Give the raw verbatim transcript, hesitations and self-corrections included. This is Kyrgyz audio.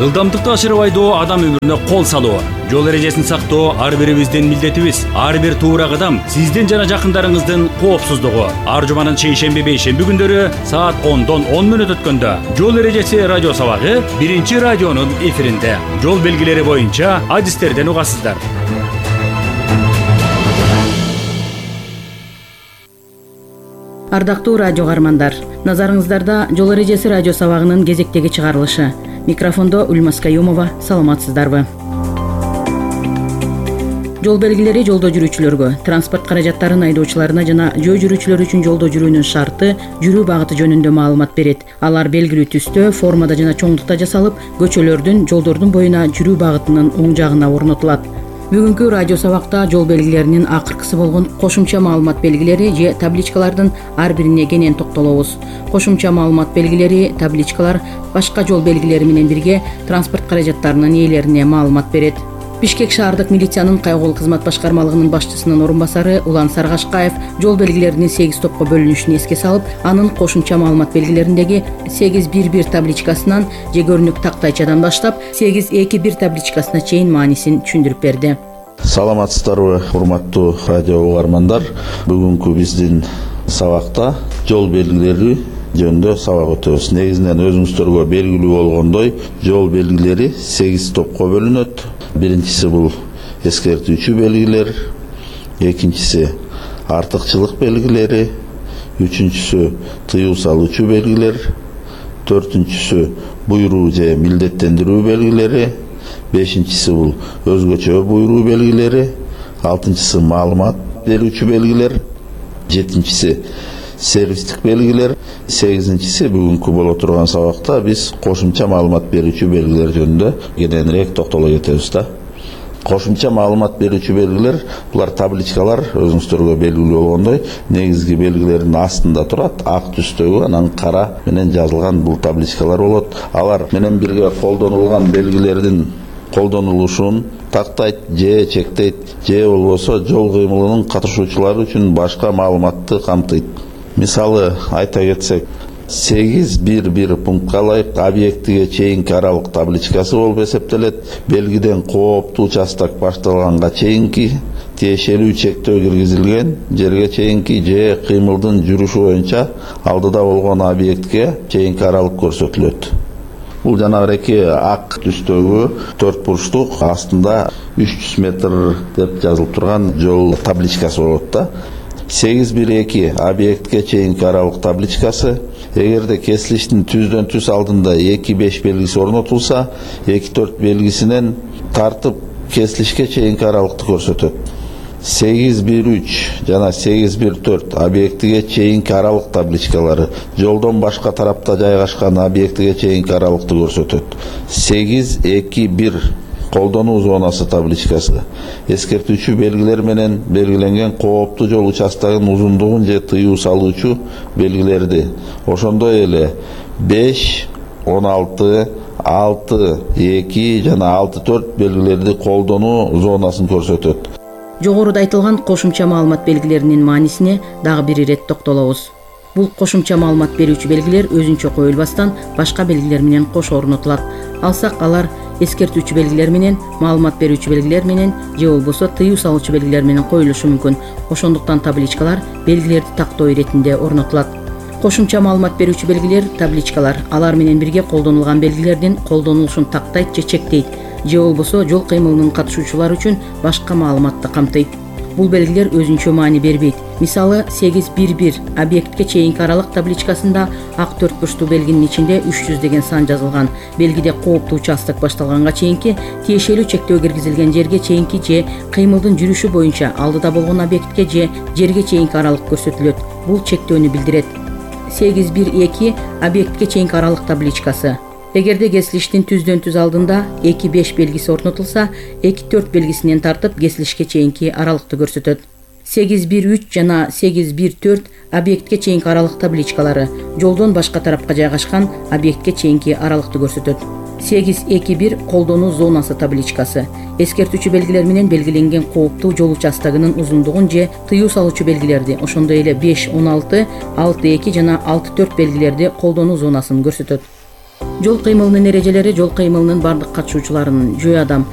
Ылдамдыкты ашырып айдоо адам өмүрүнө кол салуу. Жол эрежесин сактоо ар бирибиздин милдетибиз. Ар бир туура кадам сиздин жана жакындарыңыздын коопсуздугу. Ар жуманын шейшемби бейшемби күндөрү саат ондон он мүнөт өткөндө жол эрежеси радио сабагы биринчи радионун эфиринде. Жол белгилери боюнча адистерден угасыздар. Ардактуу радио каармандар, назарыңыздарда жол эрежеси радио сабагынын кезектеги чыгарылышы. Микрофондо Ульмас Каюмова, саламатсыздарбы? Жол белгилери жолдо жүрүүчүлөргө, транспорт каражаттарын айдоочуларына жана жөө жүрүүчүлөр үчүн жолдо жүрүүнүн шарты, жүрүү багыты жөнүндө маалымат берет. Алар белгилүү түстө, формада жана чоңдукта жасалып, көчөлөрдүн, жолдордун боюна жүрүү багытынын оң жагына орнотулат. Бүгүнкү радио сабакта жол белгилеринин акыркысы болгон кошумча маалымат белгилери же табличкалардын ар бирине кенен токтолобуз. Кошумча маалымат белгилери, табличкалар башка жол белгилери менен бирге транспорт каражаттарынын ээлерине маалымат берет. Бишкек шаардык милициянын кайгылуу кызмат башкармалыгынын башчысынын орун басары Улан Саргашкаев жол белгилеринин сегиз топко бөлүнүшүн эске салып, анын кошумча маалымат белгилериндеги сегиз бир бир табличкасынан же көрүнүк тактайчадан баштап сегиз эки бир табличкасына чейин маанисин түшүндүрүп берди. Саламатсыздарбы, урматтуу радио угармандар. Бүгүнкү биздин сабакта жол белгилери жөнүндө сабак өтөбүз. Негизинен өзүңүздөргө белгилүү болгондой, жол белгилери сегиз топко бөлүнөт. Биринчиси бул эскертүүчү белгилер, экинчиси артыкчылык белгилери, үчүнчүсү тыюу салуучу белгилер, төртүнчүсү буйруу же милдеттендирүү белгилери, бешинчиси бул өзгөчө буйруу белгилери, алтынчысы маалымат берүүчү белгилер, жетинчиси сервистик белгилер, сегизинчиси бүгүнкү боло турган сабакта биз кошумча маалымат берүүчү белгилер жөнүндө кененирээк токтоло кетебиз да. Кошумча маалымат берүүчү белгилер булар табличкалар, өзүңүздөргө белгилүү болгондой, негизги белгилердин астында турат, ак түстөгү, анан кара менен жазылган бул табличкалар болот. Алар менен бирге колдонулган белгилердин колдонулушун тактайт же чектейт, же болбосо жол кыймылынын катышуучулары үчүн башка маалыматты камтыйт. Мисалы айта кетсек, сегиз бир бир пунктка ылайык объектиге чейинки аралык табличкасы болуп эсептелет. Белгиден кооптуу участок башталганга чейинки тиешелүү чектөө киргизилген жерге чейинки же кыймылдын жүрүшү боюнча алдыда болгон объектке чейинки аралык көрсөтүлөт. Бул жанагы ак түстөгү төрт бурчтук астында үч жүз метр деп жазылып турган жол табличкасы болот да. сегиз бир эки объектке чейинки аралык табличкасы, эгерде кесилиштин түздөн түз алдында эки беш белгиси орнотулса, эки төрт белгисинен тартып кесилишке чейинки аралыкты көрсөтөт. сегиз бир үч жана сегиз бир төрт объектиге чейинки аралык табличкалары жолдон башка тарапта жайгашкан объектиге чейинки аралыкты көрсөтөт. сегиз эки бир колдонуу зонасы табличкасы эскертүүчү белгилер менен белгиленген кооптуу жол участогунун узундугун же тыюу салуучу белгилерди, ошондой эле беш, он алты, алты эки жана алты төрт белгилерди колдонуу зонасын көрсөтөт. Жогоруда айтылган кошумча маалымат белгилеринин маанисине дагы бир ирет токтолобуз. Бул кошумча маалымат берүүчү белгилер өзүнчө коюлбастан башка белгилер менен кошо орнотулат. Алсак алар эскертүүчү белгилер менен, маалымат берүүчү белгилер менен же болбосо тыюу салуучу белгилер менен коюлушу мүмкүн. Ошондуктан табличкалар белгилерди тактоо иретинде орнотулат. Кошумча маалымат берүүчү белгилер, табличкалар алар менен бирге колдонулган белгилердин колдонулушун тактайт же чектейт, же болбосо жол кыймылынын катышуучулары үчүн башка маалыматты камтыйт. Бул белгилер өзүнчө маани бербейт. Мисалы сегиз бир бир объектке чейинки аралык табличкасында ак төрт бурчтуу белгинин ичинде үч жүз деген сан жазылган. Белгиде кооптуу участок башталганга чейинки тиешелүү чектөө киргизилген жерге чейинки же кыймылдын жүрүшү боюнча алдыда болгон объектке же жерге чейинки аралык көрсөтүлөт. Бул чектөөнү билдирет. сегиз бир эки объектке чейинки аралык табличкасы. Эгерде кесилиштин түздөн түз алдында эки беш белгиси орнотулса, эки төрт белгисинен тартып кесилишке чейинки аралыкты көрсөтөт. сегиз бир үч жана сегиз бир төрт объектке чейинки аралык табличкалары жолдон башка тарапка жайгашкан объектке чейинки аралыкты көрсөтөт. сегиз эки бир колдонуу зонасы табличкасы эскертүүчү белгилер менен белгиленген кооптуу жол участогунун узундугун же тыюу салуучу белгилерди, ошондой эле беш, он алты, алты эки жана алты төрт белгилерди колдонуу зонасын көрсөтөт. Жол кыймылынын эрежелери жол кыймылынын бардык катышуучуларынын жөө адам